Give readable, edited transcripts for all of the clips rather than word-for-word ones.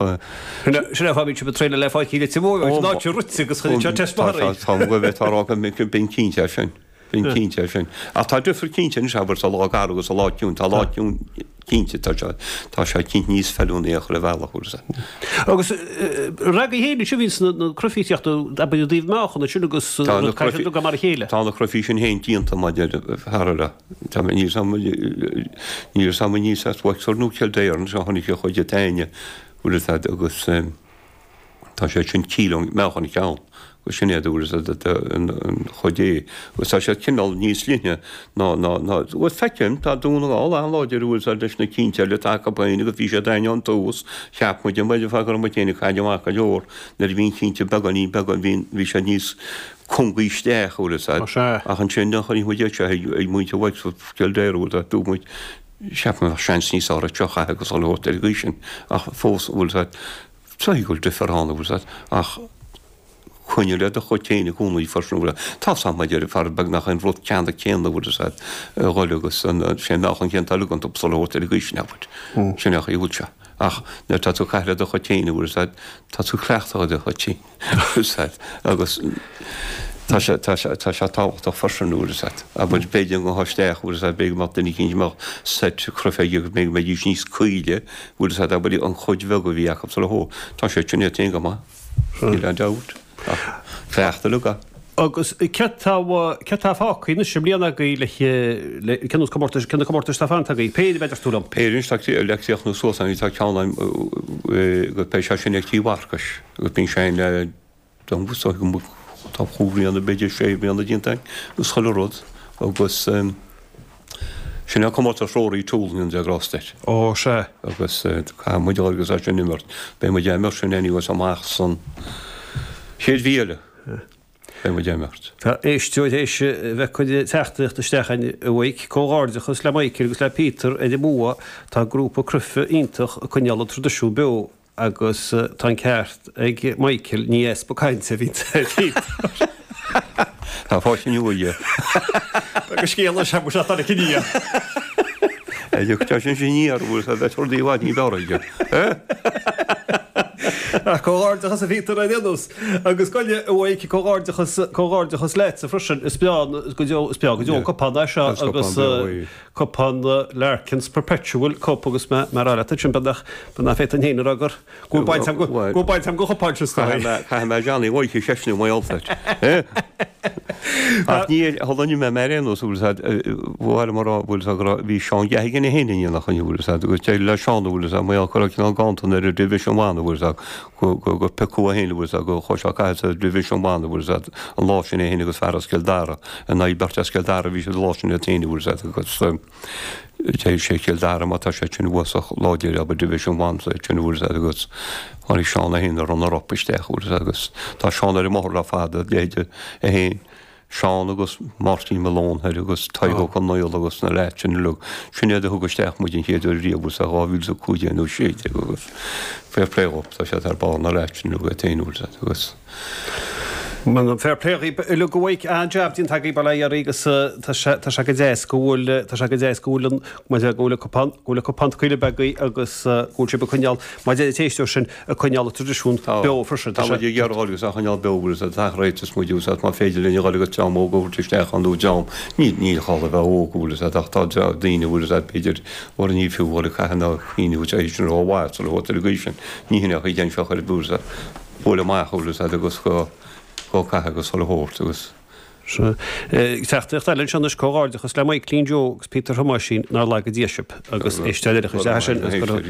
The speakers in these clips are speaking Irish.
Sin é fáth a mbíonn sibh ag traenáil le Páirc Uí Leitir Móir, an áit a rite agus chuireann sé taispeántas. Tá go bhfeictear á rá go mbím cinnte é sin. Bím cinnte é sin. Ach tá difear cinnte anois, abair, sa lá garbh agus sa lá ciúin. Tá lá ciúin cinnte, tá sé, tá sé cinnte níos feiliúnaí ar chuile bhealach, bhfuil fhios a'd. Agus ragaí féin ansin, bhíonns na cruifí ag tíocht, abair, i dtaobh meáchan ansin agus rud caithfidh siad mar a chéile. Tá na cruifí sin féin déanta maidir thar a le. Tá mé níl 's a'm, níl 's a'm níos as Wexford nó Kildare anseo tháinig sé chuid de Táine, bhfuil fhios a'd, agus tá sé sin kíló meáchan an ceann, agus sin é, bhfuil fhios a'd, an chuid é, agus tá sé cineál níos leithne ná, ná, ná, bhuel feicim, tá Dún na nGall an-láidir, bhfuil fhios a'd, leis na cinnte eile atá acu féin agus bhí siad a'inn ón tús, cheap muid, an bhfuil, go raibh muid féin ag caint amach go leor nuair a bhí an cinnte beagáinín beagán, bhí, bhí sé níos cúngaí isteach, bhfuil fhios a'd. Sea. Ach ansin nuair a chonaic muid iad seo ag muintir Wexford, Kildare, bhfuil fhios a'd, dúirt muid, cheap mé bheadh seans níos fearr ag seo chaithfidh agus dhul a thabhairt ar an gcaoi sin. Ach fós, bhfuil fhios a'd, caithfidh go bhfuil difear ann, bhfuil fhios a'd, ach coinnigh le do chuid féin i gcónaí freisin, bhfuil fhios a'd. Tá fhios a'm, a deir fear beagnach an rud ceanna céanna, bhfuil fhios a'd, a dhul agus an, sé meáchan céanna atá uilig iontu sula thabhairt ar an gcaoi sin, abair. Sin é an chaoi a bhfuil sé. Ach nuair atá tú ag caitheamh le do chuid féin, bhfuil fhios a'd, tá tú cleachtach ar do chuid féin. Agus tá sé, tá sé, tá sé tábhachtach freisin, bhfuil fhios a'd. Abair, b'fhéidir go ngabhfá isteach, bhfuil fhios a'd, b'fhéidir go mbeadh duine eicínt a mbeadh seit cruife aige agus b'fhéidir go mbeidís níos caoile, bhfuil fhios a'd, abair, an chuid bheag a bhí acu sula thó. Tá sé sin iad féin go maith, níl aon dabht, ach cleachtadh uilig é. Agus céard tá, céard tá fágtha anois i mbliana agaibh le, le, cén nós comórtais, cén na comórtais atá fanta agaibh? Péire, b'fhéidir, tú liom. Péire anois, tá, le críochnú suas, tá ceann a'm, agus beidh sé sin ag Tigh Mharcais. Agus bíonn sé ina tá chúig bhliana, b'fhéidir sé bliana déanta againn agus chuile rud agus sin é comórtas Rory Toole in de grást air. Ó, sea. Agus caithfidh muid a dhul agus é sin imirt. Beidh muid á imirt sin anyways amach san chéad mhí eile. Beidh muid á imirt. Tá éisteoir théis a bheith ag cur teachtaireacht isteach againn a Mhaidhc. Comhghairdeachas le Michael agus le Peter ar an mbua. Tá grúpa cruife iontach ag coinneáil an traidisiún beo. Agus tá an ceart ag Michael, ní easpa cainte a bhíonn ar Peter. Tá fáilte nua aige. Agus scéal leis amuigh sé tháinig aniar. Tá sin sin aniar, bhfuil sé bheith rudaí i bhfad ní b'fhearr aige. Ach comhghairdeachas a Peter ar aon nós. Agus goile a Mhaidhc, comhghairdeachas, comhghairdeachas leatsa freisin. Is breá go deo, is breá go deo an cupán é seo agus Cupán Larkins Perpetual Cup agus mé mar a rá leat ansin beagnach beagnach féadfainn féin a rá gur go bhfuil baint agam go bhfuil baint agam go chupán sin stoi. Caithfidh mé Johnny Mhaidhc a cheistiú mar gheall air. Ach ní tharlaíonn mé mar aon nós bhfuil fhios a'd bhuel mar a bhfuil fhios a'd go raibh bhí Seán Geoghegan é féin in éineacht linn bhfuil fhios a'd agus d'éirigh le Seán bhfuil fhios a'd mar gheall go raibh cineál ganntan ar an Division One bhfuil fhios a'd go go go piocadh é féin bhfuil fhios a'd go chuaigh sé ag caitheamh sa Division One bhfuil fhios a'd an lá sin é féin agus fear as Cill Dara in aghaidh beirt as Cill Dara bhí siad an lá sin iad féin bhfuil fhios a'd agus deir sé Cill Dara má tá sé sin uafásach láidir abair Division One sa sin bhfuil fhios a'd agus tháinig Seán é féin a runner up isteach bhfuil fhios a'd agus tá Seán ar an mbóthar le fada leithéide é féin Seán agus Máirtín Malone thoir agus Tadhg Ó Conaola agus na leaids sin uilig. Sin iad a thug isteach muid an chéad uair riamh sa 2015 nó 16 agus fair play dhóibh, tá siad thar barr na leaids sin uilig iad féin bhfuil fhios a'd agus. Fair play dhaoibh uilig a Mhaidhc, an-jab déanta agaibh bail ó Dhia oraibh agus tá sé tá sé go deas go bhfuil tá sé go deas go bhfuil an mar go bhfuil an cupán go bhfuil an cupán coille beag agus go bhfuil sibh ag coinneáil mar deir an t-éisteoir sin ag coinneáil an traidisiún beo freisin. Tá muid ag iarraidh dhul agus á choinneáil beo agus tá réiteas muid agus má féidir linn a dhul agus dream óg a thabhairt isteach ann nó dream ní ní gá a bheith óg bhfuil fhios a'd ach tá daoine bhfuil fhios a'd b'fhéidir mura ní fiú dhul ag caitheamh ná cuimhniú tar éis an rómhaith sula bhfuil ar an gcaoi sin ní hin é an chaoi seo ar bhfuil fhios a'd buail amach bhfuil fhios a'd agus go go caitheamh agus dhul a thabhairt agus Sea. Teachtaireacht eile anseo anois, Comhghairdeachas le Michaelín Joe agus Peter Thomáisín, nár laga Dia sibh. Agus éisteoir eile a chuir isteach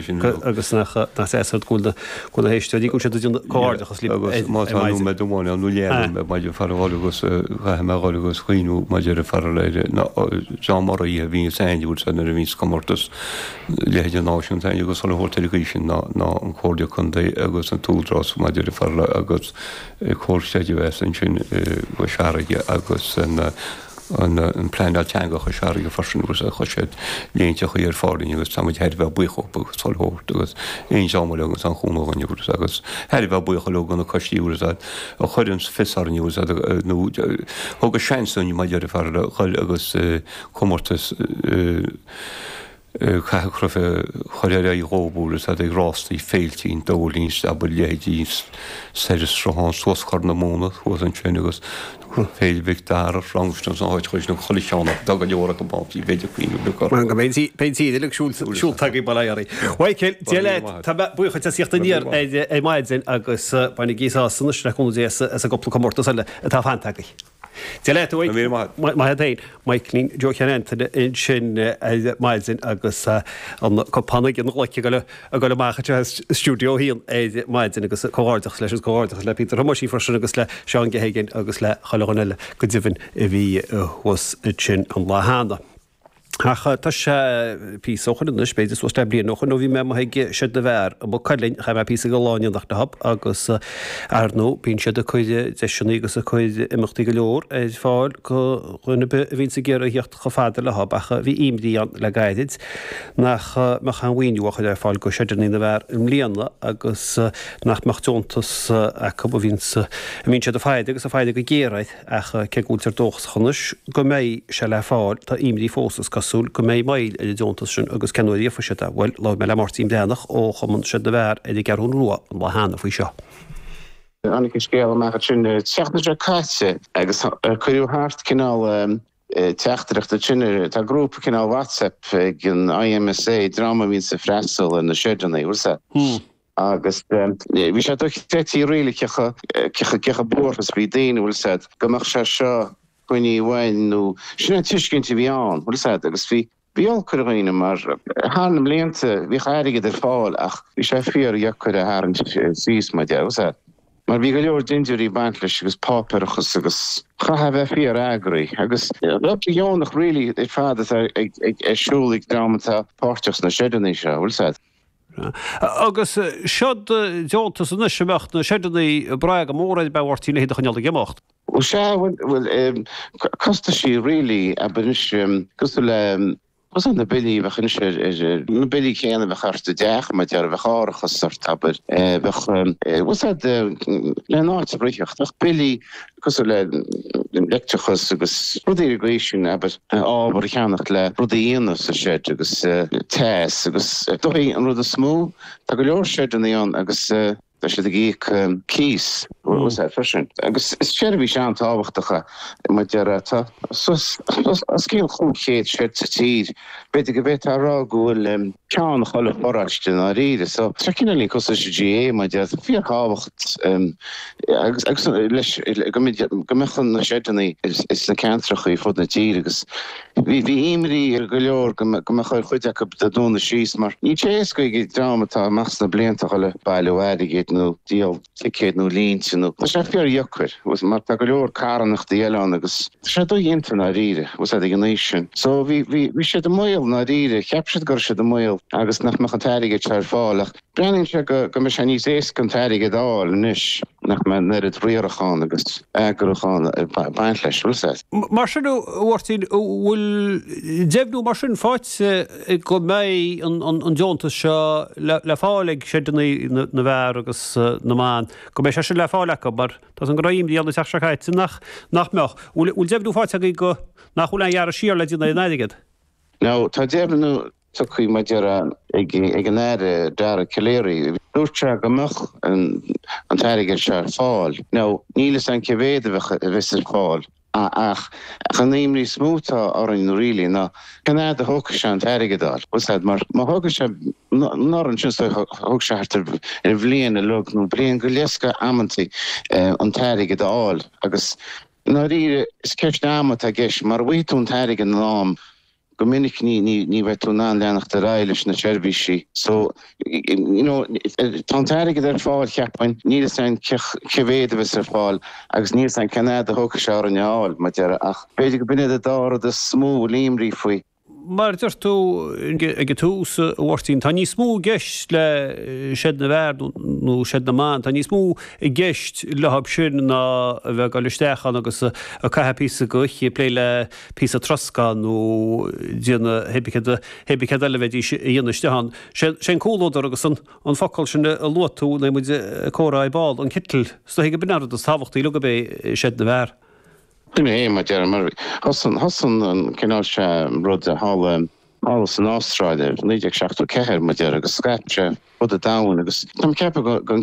sin agus nach deas go bhfuil na héisteoirí, go bhfuil siad ag déanamh comhghairdeachas libh ar maidin. Agus má tá nóiméad amháin ann nó leathnóiméad maidir fear a dhul agus caithfidh mé a dhul agus cuimhniú maidir le fear eile John Murray a bhí sa aithne bhfuil sé nuair a bhí sa comórtas leithéide náisiúnta agus chuile shórt ar an gcaoi sin ná an Comhairle Contae agus an tÚdarás maidir le fear agus Comhar Creidmheasa ansin i gCois Fharraige agus an an Pleanáil Teanga Chois Fharraige freisin agus chuir siad léinteachaí ar fáil dúinn agus tá muid thar a bheith buíoch dhóibh agus chuile shórt agus aon dream eile agus an chúnamh dhúinn agus agus thar a bheith buíoch leo do na coistí agus a chuireann fios orainn agus nó thug a seans dúinn maidir le fear le dhul agus comórtas. Caitheadh cruife chur ar aghaidh dhóibh bhfuil fhios a'd ag rástaí féiltí an Dóilín abair leithéidí soir an Sruthán suas Corr na Móna thuas ansin agus Féile Mhic Dara Frankston san áit chuir sin an chuile cheann acu tá go leor acu ann bhí b'fhéidir cuimhneamh le cur. Go mbeidh an tír uilig siúlta agaibh bail ó Dhia oraibh. Mhichael, Dia leat, tá mé buíoch duit as theacht aniar ar maidin agus bainigí sásamh anois le cúnamh Dé as an gcúpla comórtas eile atá fanta agaibh. Dia leat, a Mhic. Maith agat féin. Michaelín Joe Sheáin Antaine ansin ar maidin agus an cupán ag an gcloic ag dul amach anseo as Stiúideo 1 ar maidin agus comhghairdeachas leis agus comhghairdeachas le Peter Thomáisín freisin agus le Seán Geoghegan agus le chuile dhuine eile go deimhin a bhí thuas ansin an lá cheana. Ach tá sé píosa ó shoin anois, b'fhéidir suas le bliain ó shoin ó bhí mé amuigh ag Seid na bhFear i Maigh Cuilinn, chaith mé píosa de lá in éineacht leob agus ar ndóigh bíonn siad ag cur deiseanna agus ag cur imeachtaí go leor ar fáil go dhuine ar bith a bhíonns ag iarraidh a theacht chomh fada leob ach bhí imní ann le gairid nach mbeadh aon mhaoiniú á chur ar fáil go Seideanna na bhFear i mbliana agus nach mbeadh deontas acu a bhíonns a mbíonn siad ag faire agus ag faire go géar air. Ach cé go bhfuiltear dóchasach anois go mbeidh sé le fáil, tá imní fós, is cosúil, go mbeidh moill ar an deontas sin agus cén uair a íocfaidh siad é? Bhuel, labhair mé le Máirtín Breathnach ó Chumann Seid na bhFear ar an gCeathrú Rua an lá cheana faoi seo. Tháinig an scéal amach ansin an tseachtain seo caite agus cuireadh thart cineál teachtaireacht ansin. Tá grúpa cineál WhatsApp ag an IMSA, dream a bhíonns ag freastal ar na seideanna, bhfuil 's a'd. Agus bhí sé dochreidte really cé chomh buartha is a bhí daoine, bhfuil 's a'd, go mbeadh sé seo coinnithe uainn nó sin an tuiscint a bhí ann, bhfuil 's a'd, agus bhí, bhí olc ar dhaoine mar thar na mblianta bhíodh airgead ar fáil ach bhí sé fíor-dheacair a tharraingt síos, mar dhea, bhfuil 's a'd. Mar bhí go leor dindiúirí ag baint leis agus páipéarachas agus chaithfeá a bheith fíor-eagraithe agus obair dheonach really ar fad atá ag ar siúl ag dream atá páirteach sna seideanna seo, bhfuil 's a'd. Agus seod deontas anois a mbeadh na seideanna ag brath go mór air ab ea a Mháirtín le hiad a choinneáil ag imeacht. Bhuel sea, bhuel, costaisí really, abair anois, cosúil le, cosúil na billí a bheadh anois ar, ar, na billí céanna a bheadh ort i dteach, mar a déarfá, bheadh árachas ort, abair, bheadh, bhfuil 's a'd, le an áit a ritheacht, bheadh billí cosúil le leictreachas agus rudaí ar an gcaoi sin, abair, ábhar a cheannacht le rudaí a dhéanamh sa shed agus teas agus is dóigh an rud is mó, tá go leor seideanna ann agus tá siad ag íoc cíos, bhfuil 's a'd, freisin. Agus is seirbhís an-tábhachtach é, mar a déarfá, tá suas os cionn 500 shed sa tír, b'fhéidir go bhféadfá a rá go bhfuil ceann chuile pharóiste i ndáiríre. So tá cineáilín cosúil leis an GAA mar a déarfá, fíorthábhacht agus agus leis go go mbeadh na seideanna sna ceantracha ar fud na tíre agus bhí bhí imní ar go leor go go mbeadh ar chuid acu dúnadh síos mar níl sé éasca ag an dream atá amach sna blianta a dhul ag bailiú airgid nó díol ticéad nó línte nó tá sé fíordheacair mar tá go leor carthanachtaí eile ann agus tá sé dodhéanta i ndáiríre bhfuil 's a'd ag an aois sin. So bhí bhí bhí siad i mbaol i ndáiríre, cheap siad go raibh siad i mbaol agus nach mbeadh an t-airgead seo ar fáil ach breathnaíonn sé go go mbeidh sé níos éasca an t-airgead a fháil anois nach mbeidh an oiread riarachán agus eagrúchán ag baint leis, bhfuil 's a'd. Mar sin, a Mháirtín, an bhfuil deimhniú mar sin faighte go mbeidh an deontas seo le fáil ag seideanna na bhfear agus na mban, go mbeidh sé sin le fáil acu, mar tá 's agam go raibh imní ann an tseachtain seo caite nach nach mbeadh. Bhfuil deimhniú faighte agaibh go nach bhfuil aon ghearradh siar le déanamh ar an airgead? Now, tá deimhniú tugtha mar a déarfá ag an Aire Dara Calleary. Dúirt sé go mbeadh an t-airgead seo ar fáil. Now, níl 'fhios a'm cé mhéad a bheas ar fáil. Ach an imní is mó atá orainn really ná cén fhad a thógfaidh sé an t-airgead a fháil, bhfuil 's a'd, mar má thógann sé anuraidh ansin so thóg sé thart ar bhliain uilig nó bliain go leith amantaí an t-airgead a fháil agus i ndáiríre is ceist ama atá i gceist mara bhfaighidh tú an t-airgead in am go minic ní ní ní bheidh tú in ann leanacht ar aghaidh leis na seirbhísí so you know tá an t-airgead ar fáil cheapfainn, níl 'fhios a'inn cé mhéad a bheas ar fáil agus níl 'fhios a'inn cén fhad a thógfaidh sé orainn a fháil mar a déarfá ach b'fhéidir go b'in iad an dá rud is mó a bhfuil imní faoi. Mar a deir tú ag an tús, a Mháirtín, tá níos mó i gceist le seid na bhfear nó seid na mban, tá níos mó i gceist leo sin ná a bheith ag dul isteach ann agus ag caitheamh píosa d'oíche ag plé le píosa troscán nó déanamh hébrí céard eile a bheidís a dhéanamh istigh ann. Sé an comhluadar agus an focal sin a luaigh tú nuair muid ag comhrá ar ball, an citl, is dóichí go b'in an rud is tábhachtaí uilig ab é seid na bhfear. Sin é, mar a déarfá, mar thosaigh an cineál seo rud thall. Thall san Astráil i 1974, mar a déarfá, agus scaip sé fud an domhain agus táim ag ceapadh go.